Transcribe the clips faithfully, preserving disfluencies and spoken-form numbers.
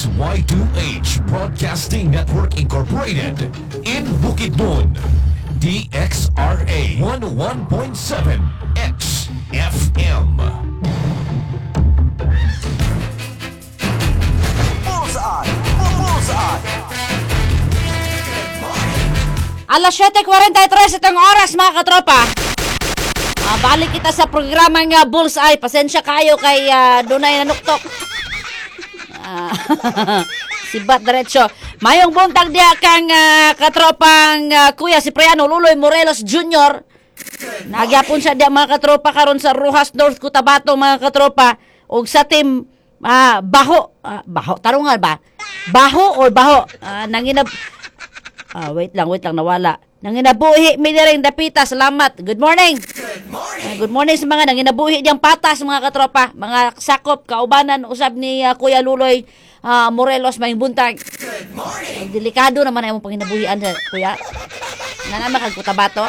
X Y two H Broadcasting Network Incorporated in Bukidnon. D X R A one oh one point seven X F M. Bullseye! Bullseye! Alas siyete kwarenta y tres itong oras, mga katropa. Ah, balik kita sa programa nga Bullseye. Pasensya kayo kay uh, dunay nanuktok. Ah, sibat diretso. Mayong buntag diya kang ah, katropang ah, Kuya Cipriano Luloy Morelos Junior Nagyapon siya diya, mga katropa, karon sa Roxas North, Cotabato, mga katropa. Og sa team ah, Baho. Ah, baho, tarungan ba? Baho or baho? Ah, nanginab Ah, wait lang, wait lang, nawala. Nanginabuhi mi rin dapita, salamat. Good morning. Good morning. Good morning sa mga nanginabuhi diyang patas, mga katropa, mga sakop kaubanan usab ni ah, Kuya Luloy ah, Morelos, mayong buntag. Good morning. Delikado naman ang imong panginabuhian sa kuya. Nga naman kag Cotabato.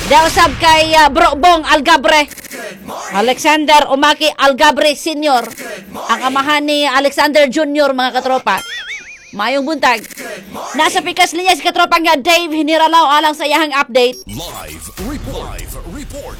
Daw usab kay ah, Bro Bong Algabre. Alexander Umaki Algabre Senior. Ang amahan ni Alexander Junior, mga katropa. Mayong buntag. Nasa pikas linya si katropa nga Dave Hiniralaw alang sa iyahang update. Live report. Live report.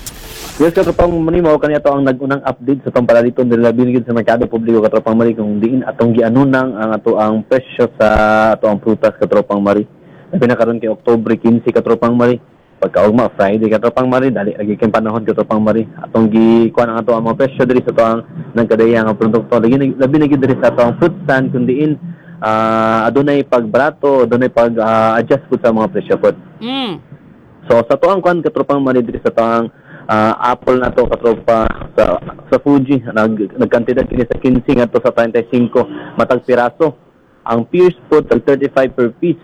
Yes, katropang Mari, mao kani ato ang nag-unang update sa atong palaliton diri labi gyud sa merkado publiko, katropang Mari, kung diin atong gianunang ang ato ang presyo sa ato ang prutas, katropang Mari. Labi na karon kay Oktubre kinse, katropang Mari. Pagkaugma Friday, katropang Mari, dali lagi kay panahon, katropang Mari. Atong gikuan ang ato ang mga presyo diri sa ato ang nagkadaya nga produkto. Lagi labi na gyud diri sa ato ang fruit stand kung diin ah, adunay pagbarato, adunay pag ah, adjust pud sa mga presyo pod. Mm. So sa tuang kwan, katropang Mari, diri sa tuang ah, apple na to, katropa, sa sa Fuji nag nagkantidad kini sa kinse ngadto sa trentay singko matag piraso. Ang pears po tag thirty-five per piece.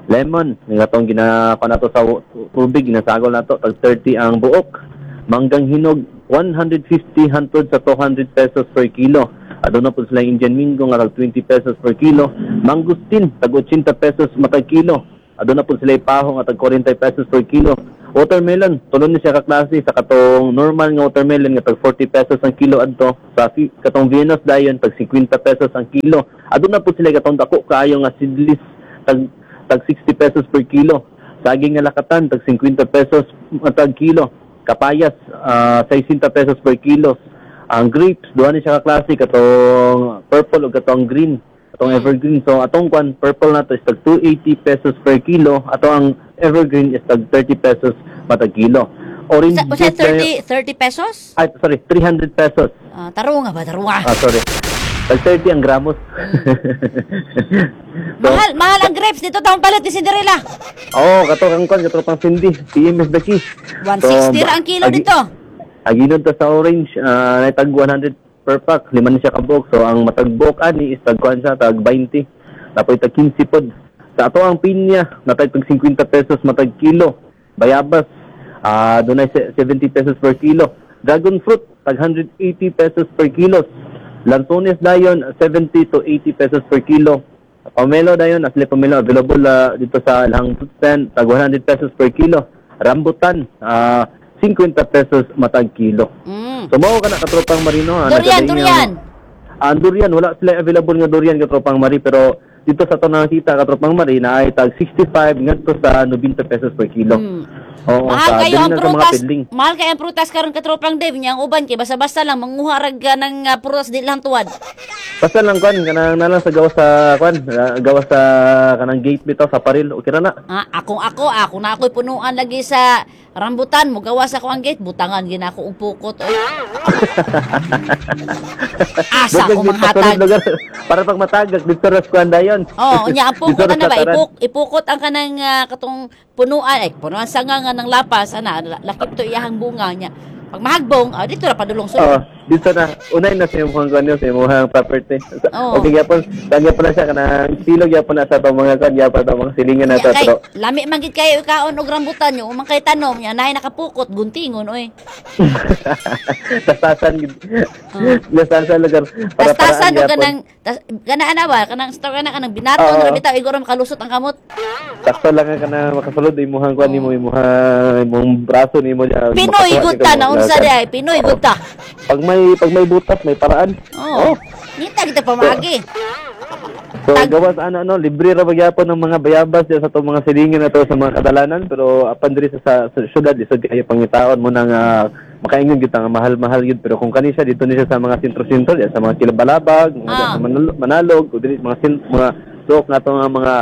Lemon nga atong ginakuan nato sa tubig, ginasagol nato, tag thirty ang buok. Manggang hinog, one hundred fifty hantod sa two hundred pesos per kilo. Aduna po sila Indian Mingo nga tag twenty pesos per kilo. Mangosteen tag eighty pesos matag kilo. Aduna po sila paho nga tag forty pesos per kilo. Watermelon, tulon ni siya ka klase sa katong normal nga watermelon nga tag forty pesos ang kilo adto sa fi- katong Venus dayon tag fifty pesos ang kilo. Aduna po sila katong dako kaayo nga seedless tag tag sixty pesos per kilo. Saging nga lakatan tag fifty pesos matag kilo. Kapayas ah, sixty pesos per kilo. Ang grapes, duha ni siya ka klase, katong purple ug katong green, atong evergreen. So atong kwan purple na to is tag two hundred eighty pesos per kilo. Ato ang evergreen is tag thirty pesos matag kilo. Orange Sa, usa juice dayon- thirty thirty pesos? Ay, sorry, three hundred pesos. Ah, tarunga ba tarunga? Ah, sorry. Tag thirty ang gramos. So, Mahal, mahal ang grapes dito taong palit ni Cinderella. Oh, kato kang kwan, kato pang Cindy. P M is the key. one sixty ra ang kilo agi- dito. Aginon ta sa orange, uh, tag one hundred per pack, lima ni siya kabuok. So ang matag buok ani is tag kuan siya, tag twenty. Tapos tag fifteen pod. Sa ato ang pinya, natag tag fifty pesos matag kilo. Bayabas, ah, dunay se- seventy pesos per kilo. Dragon fruit, tag one hundred eighty pesos per kilo. Lansones dayon, seventy to eighty pesos per kilo. Pomelo dayon, asli pomelo available ah, dito sa ilang fruit stand, tag one hundred pesos per kilo. Rambutan, ah, fifty pesos matag kilo. Mm. So mao ka na, katropang Marino. ah, Durian, nagkadaing ang- durian. Ah, ang durian, wala sila available nga durian, katropang Mari, pero dito sa to nakita, katropang Mari, na ay tag sixty-five ngadto sa ninety pesos per kilo. Mm. Oo, Mahal sa kayo dili ang na sa mga prutas. pedling. Mahal kayo ang prutas karon, katropang Dave, nya ang uban kay basta-basta lang manguha rag ka ng uh, prutas di lang tuwad. Basta lang kwan kanang nalang sa gawas sa kwan, ah, gawas sa kanang gate bitaw sa paril, okay ra na. Ah, akong ako, ako na ako'y punuan lagi sa rambutan, mugawas ako ang gate, butangan gina ako og pukot. Oy. Asa ko manghatag. Lugar, para pag matagak dito ra sa kwan dayon. Oh, unya ang pukot Dito ra ana sa ba taran. ipuk, ipukot ang kanang ah, katong punuan ay punuan sa nga nga ng lapas ana lakip to iyahang bunga niya. Pag mahagbong, ah, dito ra padulong Oo, sulod. dito na unay na sa imong kwan sa imong property. Sa- Oo. Okay gyapon, kan gyapon na siya kanang silo gyapon na sa atong mga kwan gyapon atong mga silingan na Nya, to kay pero lami man gid kayo ikaon og rambutan nyo, umang kay tanom nya naay nakapukot guntingon oy. Tastasan gid. Tastasan lugar para Tastasan paraan og gyapon. kanang tas, kana ana ba kanang store kana kanang binaton Oo. ra bitaw igoro makalusot ang kamot. Sakto lang nga kana makasulod imuhang kwan nimo, imuhang imong braso nimo niya. Pinoy makakuha gud ni ta ka na mo- unsa di ay Pinoy gud ta. Pag may pag may butas, may paraan. Oo. Nita kita pamagi. So Tag- gawas ana no, libre ra magyapon ng mga bayabas diya sa atong mga silingan na to sa mga kadalanan, pero apan diri sa, sa, sa syudad lisod kayo pangitaon mo nang uh, makaingon gyud ta nga mahal-mahal gyud, pero kung kani siya dito ni siya sa mga sentro-sentro diya sa mga Kilabalabag, mga Ah. sa Manalo- Manalog o diri mga sin, mga suok nato nga mga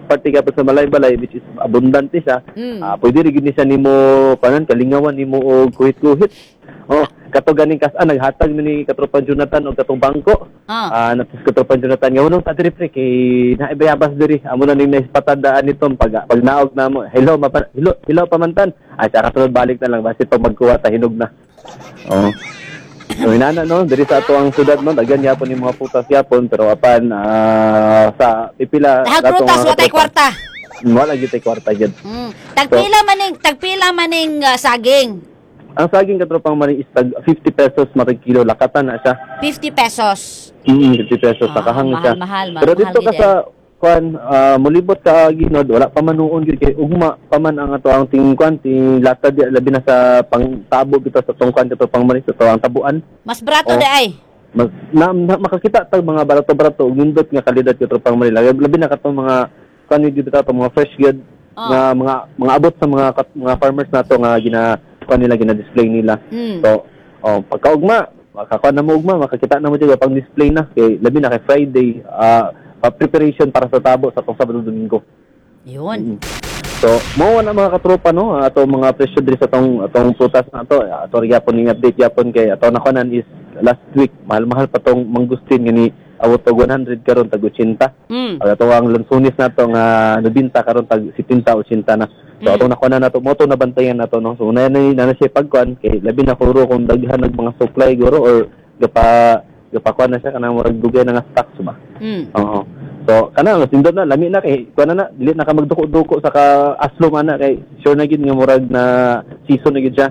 parte ka pa sa Malaybalay, which is abundante siya. Mm. Ah, pwede rin gyud ni siya nimo panan kalingawan nimo og kuhit-kuhit. Oh, kato ganing kas-an naghatag mi ni katropan Jonathan og katong bangko. Ah. Ah, natis katropan Jonathan nga unong ta diri pre kay naibayabas diri. Amo na ning naispatandaan nito pag pag naog na mo. Hello mapa, hello, hello pamantan. Ay sa kasunod balik na lang basi pag magkuha ta hinog na. Oh. So inana no, diri sa ato ang syudad no, daghan yapon ni mga prutas yapon, pero apan ah, sa pipila Dahag ato prutas mga wa tay katropa, kwarta. wala gyud tay kwarta gyud. Mm. Tagpila maning tagpila maning ah, saging. Ang saging, katropang Maring, is tag fifty pesos matag kilo, lakatan na siya. fifty pesos. Mm, fifty pesos Ah, nakahang mahal, siya. mahal, mahal, Pero dito mahal ka gid sa kuan, ah, mulibot ka ginod, wala pa man nuon gyud kay ugma pa man ang ato ang ting kuan ting lata di, labi na sa pangtabo bitaw sa tong kuan katropang Maring, sa to ang tabuan. Mas barato Oh. di ay. Mas, na, na, makakita tag mga barato-barato ug nindot nga kalidad, katropang Maring. Labi, labi na katong mga kuan gyud bitaw tong mga fresh gyud Oh. nga mga mga abot sa mga kat- mga farmers nato nga gina kuan nila, gina-display nila. Mm. So, oh, pagkaugma, makakuha na mo ugma, makakita na mo dyan, pang display na kay labi na kay Friday, ah, pa preparation para sa tabo sa tong Sabado Domingo. Yun. Mm. So, mo na mga katropa no, ato mga presyo diri sa tong atong prutas na ato, ato gyapon ning update yapon kay ato nakunan is last week mahal-mahal pa tong mangustin nga ni awot og one hundred, karon tag eighty. Mm. Ang ato ang lansunis nato nga nabinta karon tag seventy eighty na. So Mm. ato nakuha na nato mo to nabantayan nato no. So una na na, na siya pagkuan kay labi na kuro kung daghan nag mga supply guro or gapa gapa kuan na siya kanang murag dugay na nga stocks ba. Mm. Oo. So kana mas nindot na, lami na kay kuan na na dili na ka magduko-duko sa ka aslom ana kay sure na gid nga murag na season na gid siya.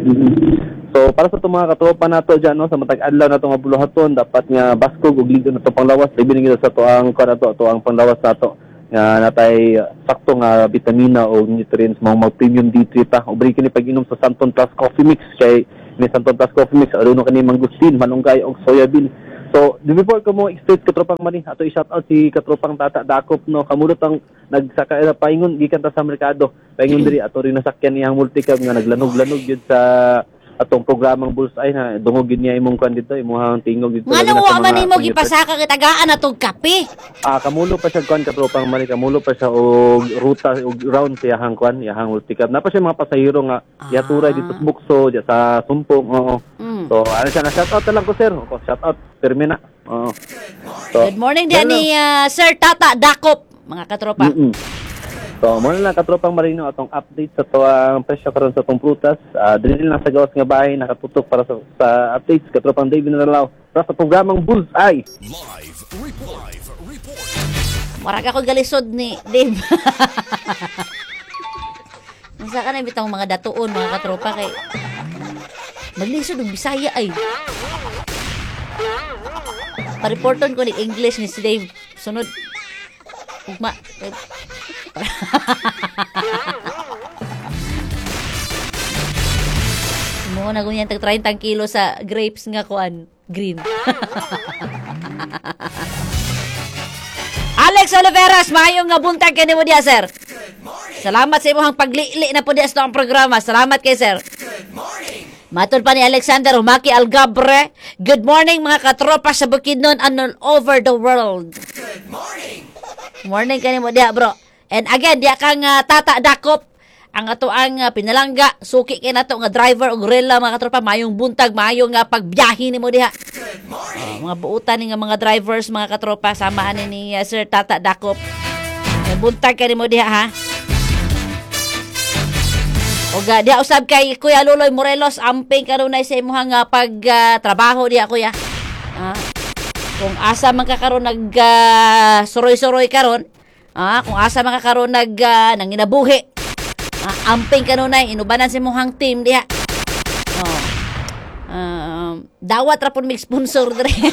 Mm. So para sa itong mga katropa nato diyan no, sa matag adlaw nato nga buluhaton, dapat nga baskog ug ligo na to panglawas, labi na gid sa to ang kuan nato, ato ang panglawas nato nga natay sakto nga bitamina o nutrients mo mag premium D three ta. Ubre kini pag-inom sa Santon Plus Coffee Mix kay ni Santon Plus Coffee Mix aruno kani mangustin, malunggay og soya bean. So, before ko mo explain, katropang Mani, ato i-shout out si katropang Tata Dakop no, kamulot ang nagsaka eh, paingon gikan ta sa merkado. Paingon diri ato rin nasakyan niyang multicab nga naglanog-lanog gyud sa atong programang Bullseye na dungog gyud niya imong kwan dito, imong tingog dito. Nga labi na nang sa wa man mga nimo commuters. gipasaka kay tagaan na tog kape. Ah, kamulo pa siya kwan, katropang Mani, kamulo pa siya og ruta og round sa iyahang kwan, iyahang multicab. Napa siya mga pasahero nga Ah. yaturay dito sa Bukso, diya sa Sumpong, oo. Mm. So, ano siya na shout out na lang ko, sir. Ko shout out pirmi na. Oo. So, Good morning diyan ganun ni ah, Sir Tata Dakop, mga katropa. Mm-mm. So, muna lang, katropang Marino, atong update sa to ang presyo karon sa atong prutas. Uh, dili lang sa gawas nga bahay nakatutok para sa, sa updates, katropang David Naralao para sa programang Bullseye. Live report. Live report. Murag ako galisod ni Dave. Unsa ka na bitang mga datuon, mga katropa, kay maglisod og Bisaya ay. Pareporton ko ni English ni si Dave. Sunod. Ugma. Mo na ganyan tag thirty kilo sa grapes nga kuan green. Alex Oliveras, maayong nga buntag kanimo diya, sir. Salamat sa imong paglili na po diya sa ang programa. Salamat kay sir. Matod pa ni Alexander Humaki Algabre, good morning mga katropa sa Bukidnon and all over the world. Good morning. Morning kanimo diya, bro. And again, diya kang ah, Tata Dakop, ang ato ang ah, pinalangga, suki kay nato nga driver og gorilla, mga katropa, mayong buntag, mayong nga pagbiyahe nimo diha. Oh, mga buutan ni nga mga drivers, mga katropa, samahan ni, ni ah, Sir Tata Dakop. May buntag kanimo diha ha. Ug ah, diha usab kay Kuya Luloy Morelos, amping kanunay sa imong nga pag ah, trabaho diha, kuya. Ah, kung asa man ka karon nag ah, suroy-suroy karon, ah, kung asa man ka karon nag ah, nanginabuhi. Ah, amping kanunay inubanan sa imong team diha. Oh. Um, dawat ra pud mig sponsor diri.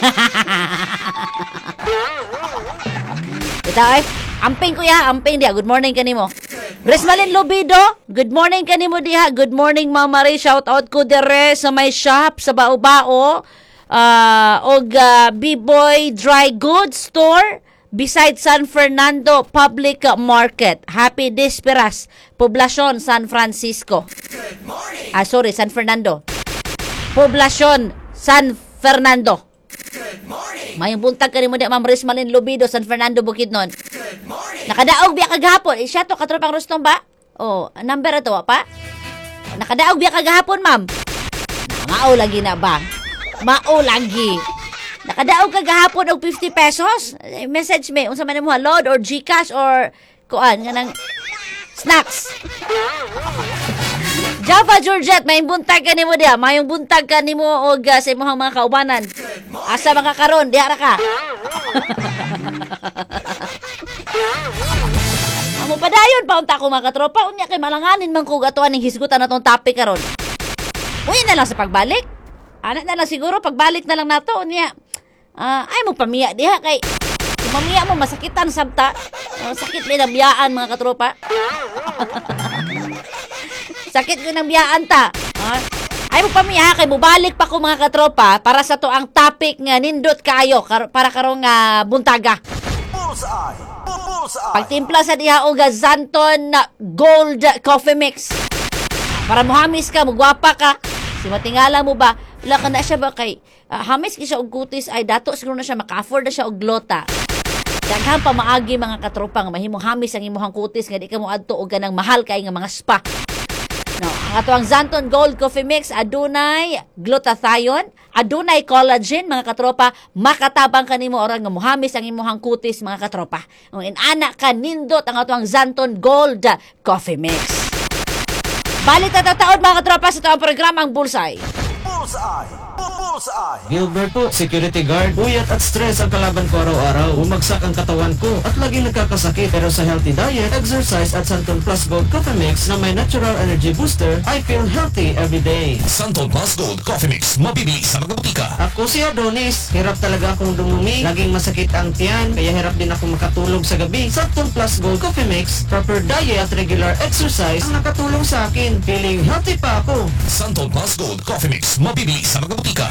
Ito ay, amping kuya, amping diha. Good morning kanimo. Resmalin Lobido, good morning kanimo diha. Good morning, Mama Ray. Shout out ko dire sa may shop sa Bao-Bao. Uh, og uh, B-Boy Dry Goods Store beside San Fernando Public Market. Happy Disperas, Poblacion, San Francisco. Ah, sorry, San Fernando. Poblacion, San Fernando. Mayong buntag kanimo di Ma'am Rismalin Lubido, San Fernando, Bukidnon. Nakadaog biya kagahapon. Eh, siya to, katropang Rustom ba? Oh, number ato, wa pa? Nakadaog biya kagahapon, ma'am. Na, mao lagi na ba? Mao lagi. Nakadaog kagahapon og fifty pesos. Eh, message me unsa man mo, load or GCash or kuan nga nang snacks. Java Georgette, may buntag ka nimo diha. Mayong buntag ka nimo og uh, sa imong mga kaubanan. Asa mga karon, diha ra ka. Amo padayon pa unta ko, mga katropa, unya kay malanganin man ko atuan ning hisgutan natong topic karon. Uy na lang sa pagbalik. Ana na lang siguro, pagbalik na lang nato unya. Ah, ay mo pamiya diha kay kung mamiya mo masakitan sabta. Uh, sakit may biyaan, mga katropa. Sakit ko ng biyaan ta. Ah, ay mo pamiya kay mubalik pa ko, mga katropa, para sa to ang topic nga nindot kaayo kar- para karong nga buntaga. Bullseye! Bullseye! Pagtimpla sa diha og Xanthone Gold Coffee Mix. Para muhamis ka, mugwapa ka. Si matingala mo ba? Wala ka na siya ba kay uh, hamis ki siya og kutis ay dato siguro na siya maka-afford na siya og glota. Daghan pa maagi, mga katropa, nga mahimong hamis ang imong kutis nga di ka mo adto og kanang mahal kay nga mga spa. No, ang ato ang Xanthone Gold Coffee Mix adunay glutathione, adunay collagen, mga katropa, makatabang kanimo ora nga muhamis ang imong kutis, mga katropa. Ang inana ka nindot ang ato ang Xanthone Gold Coffee Mix. Balik ta tataod, mga katropa, sa ito ang programang Bullseye. Bullseye! Bullseye! Gilbert po, security guard. Puyat at stress ang kalaban ko araw-araw. Bumagsak ang katawan ko at laging nagkakasakit. Pero sa healthy diet, exercise at Xanthone Plus Gold Coffee Mix na may natural energy booster, I feel healthy every day. Xanthone Plus Gold Coffee Mix. Mabibili sa mga botika. Ako si Adonis. Hirap talaga akong dumumi. Laging masakit ang tiyan, kaya hirap din ako makatulog sa gabi. Xanthone Plus Gold Coffee Mix, proper diet at regular exercise ang nakatulong sa akin. Feeling healthy pa ako. Xanthone Plus Gold Coffee Mix. Mabibili sa mga botika.